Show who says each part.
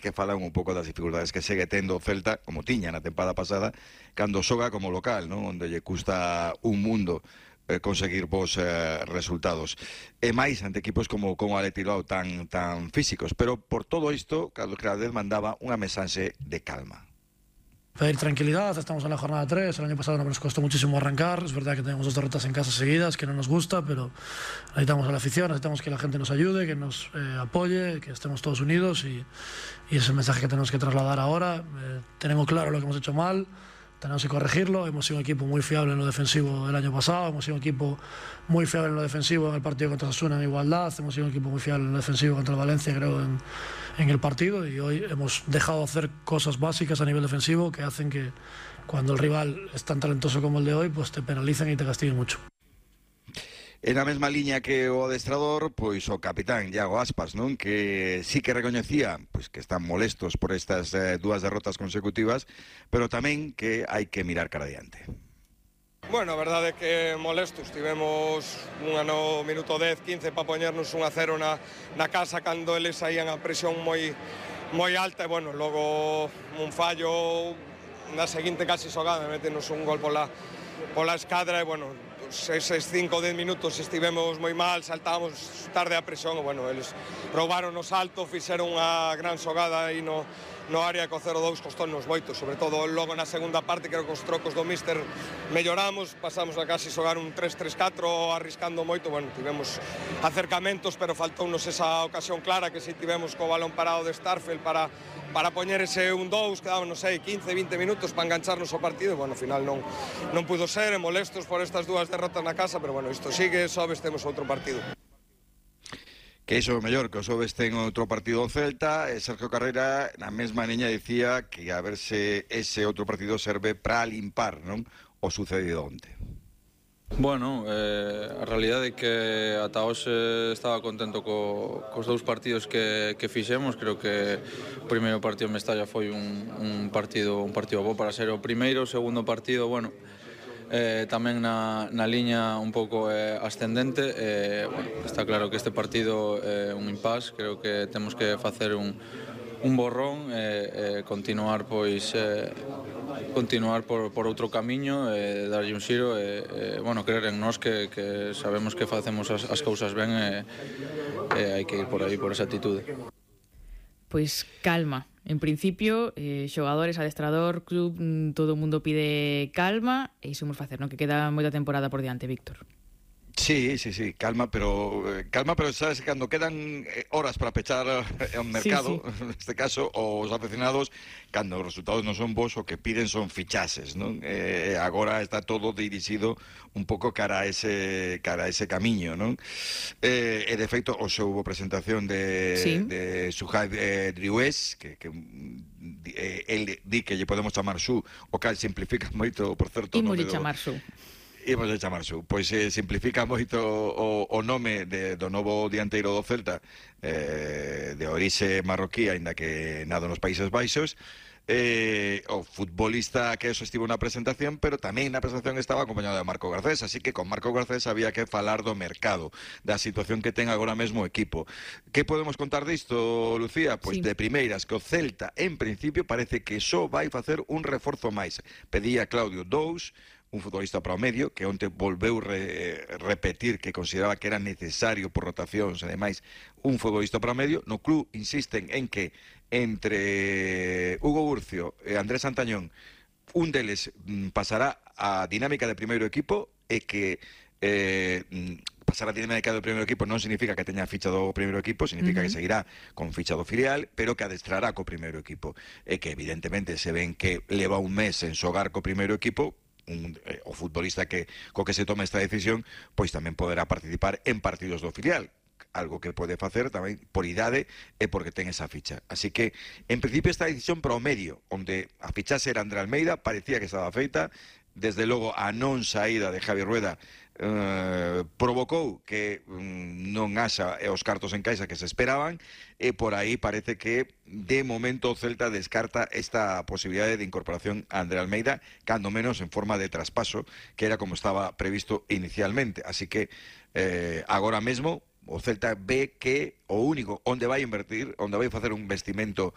Speaker 1: que falan un pouco das dificultades que segue tendo o Celta, como tiña na tempada pasada, cando xoga como local, non? Onde lle custa un mundo conseguir bons resultados. E máis ante equipos como o Athletic Bilbao tan físicos. Pero por todo isto, Carlos Crádez mandaba unha mensaxe de calma.
Speaker 2: Pedir tranquilidad, estamos en la jornada 3, el año pasado nos costó muchísimo arrancar, es verdad que tenemos 2 derrotas en casa seguidas, que no nos gusta, pero necesitamos a la afición, necesitamos que la gente nos ayude, que nos apoye, que estemos todos unidos y es el mensaje que tenemos que trasladar ahora. Tenemos claro lo que hemos hecho mal, tenemos que corregirlo. Hemos sido un equipo muy fiable en lo defensivo el año pasado, hemos sido un equipo muy fiable en lo defensivo en el partido contra Osasuna en igualdad, hemos sido un equipo muy fiable en lo defensivo contra el Valencia, creo, en el partido, y hoy hemos dejado de hacer cosas básicas a nivel defensivo que hacen que cuando el rival es tan talentoso como el de hoy, pues te penalicen y te castiguen mucho.
Speaker 1: En a mesma liña que o adestrador, pois o capitán Iago Aspas, non? Que sí que recoñecía pois que están molestos por estas 2 derrotas consecutivas, pero tamén que hai que mirar cara adiante.
Speaker 3: Bueno, a verdade é que molestos, tivemos no minuto 10, 15 para poñernos 1-0 na casa cando eles saían a presión moi alta e, bueno, logo un fallo na seguinte casi xogada, metenos un gol pola escadra e, bueno, eses 5 ou 10 minutos estivemos moi mal, saltábamos tarde a presión e, bueno, eles roubaron o salto, fixeron unha gran xogada aí no área, co 0-2 costónos moito, sobre todo logo na segunda parte, creo que os trocos do míster melloramos, pasamos a casi xogar un 3-3-4 arriscando moito, bueno, tivemos acercamentos, pero faltounos esa ocasión clara que si tivemos co balón parado de Starfelt para poñer ese 1-2, quedaban, non sei, 15-20 minutos para engancharnos ao partido, e, bueno, ao final non pudo ser, e molestos por estas 2 derrotas na casa, pero, bueno, isto sigue, sobes temos outro partido.
Speaker 1: Que iso é o mellor, que o xoves ten outro partido do Celta, e Sergio Carrera na mesma liña dicía que a ver se ese outro partido serve para limpar, non, o sucedido onte.
Speaker 4: Bueno, a realidade é que ata hoxe estaba contento cos 2 partidos que fixemos. Creo que o primeiro partido en Mestalla foi un partido bo para ser o primeiro. O segundo partido, bueno, tamén na liña un pouco ascendente. Bueno, está claro que este partido é un impasse. Creo que temos que facer un borrón e continuar por outro camiño, darlle un xiro e bueno, creer en nós que sabemos que facemos as cousas ben e hai que ir por aí, por esa atitude.
Speaker 5: Pois calma. En principio, xogadores, adestrador, club, todo o mundo pide calma e iso imos facer, non? Que queda moita temporada por diante, Víctor.
Speaker 1: Sí, calma, pero sabes, cando quedan horas para pechar o mercado, sí. Neste caso, os aficionados, cando os resultados non son bons, o que piden son fichases, non? Agora está todo dirixido un pouco cara a ese camiño, non? E de feito, hoxe houve presentación de Suhaib Drioués, que el di que lle podemos chamar Su, o cal simplifica moito, por certo,
Speaker 5: Imos chamar Su.
Speaker 1: Imos de chamar Su, pois simplifica moito o nome do novo dianteiro do Celta, de orixe marroquí, aínda que nado nos Países Baixos. O futbolista que eso estivo na presentación, pero tamén na presentación estaba acompañado de Marco Garcés, así que con Marco Garcés había que falar do mercado, da situación que ten agora mesmo o equipo. Que podemos contar disto, Lucía? Pois de primeiras, que o Celta en principio parece que só vai facer un reforzo máis. Pedía Claudio 2, un futbolista para o medio, que onte volveu repetir que consideraba que era necesario por rotacións e demais un futbolista para o medio. No club insisten en que entre Hugo Urcio e Andrés Santañón un deles pasará a dinámica de primeiro equipo, e que pasar a dinámica do primeiro equipo non significa que teña ficha do primeiro equipo, significa que seguirá con ficha do filial, pero que adestrará co primeiro equipo, e que evidentemente se ven que leva un mes en xogar co primeiro equipo, o futbolista co que se toma esta decisión, pois tamén poderá participar en partidos do filial, algo que pode facer tamén por idade e porque ten esa ficha. Así que, en principio, esta decisión para o medio, onde a fichase era André Almeida, parecía que estaba feita. Desde logo, a non saída de Javi Rueda provocou que non haxa os cartos en caixa que se esperaban, e por aí parece que de momento o Celta descarta esta posibilidade de incorporación a André Almeida, cando menos en forma de traspaso, que era como estaba previsto inicialmente. Así que agora mesmo O Celta ve que o único onde vai invertir, onde vai facer un investimento